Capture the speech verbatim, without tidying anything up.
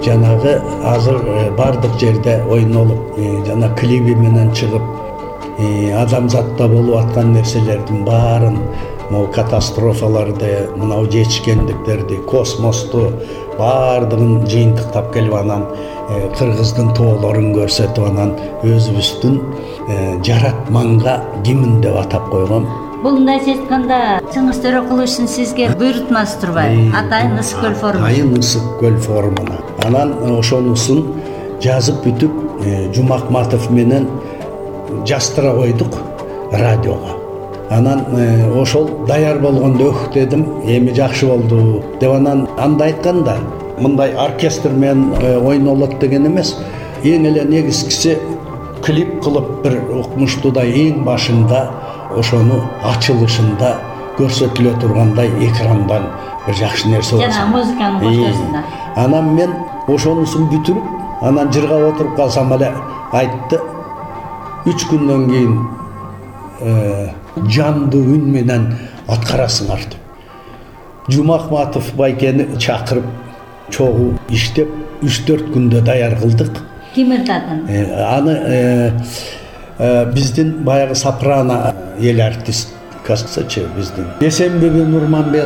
жанагы азыр бардык жерде ойнолуп жана клиби менен чыгып адамзатта болуп аткан нерселердин баарын, могу катастрофаларды, мынау жетишкендиктерди, космосту баардыгын жыйынтыктап келип анан Кыргыздын тоолорун көрсөтүп анан өзүбүздүн жаратманга кимин деп атап койгон. Бул мындайча айтканда Чыңгыз Төрөкуловичтин сизге буйрутмасы турбайбы? Атайын Ысык көл форуму. Атайын Ысык көл форумуна. Анан ошонусун жазып бүтүп, Жумакматов менен жаздыра койдук радиого. Анан ошол даяр болгондо өх дедим, эми жакшы болду деп анан анда айтканда, мындай оркестр менен ойнолот деген эмес. Эң эле негизгиси клип кылып бир укмуштуудай эң башында ошону ачылышында көрсөтүлө тургандай экрандан бир жакшы нерсе болсо. Жана музыканын коштосунда. Анан мен ошонусун бүтүрүп, анан жыргап отуруп калсам эле айтты. Үч күндөн кийин жандуу үн менен аткарасыңар деп. Жумакматов байкени чакырып, чогуу иштеп, үч төрт күндө даяр кылдык. Ким ырдатын? Аны биздин баягы сопрано эл артисткасы биздин Эсенбеби Нурманбет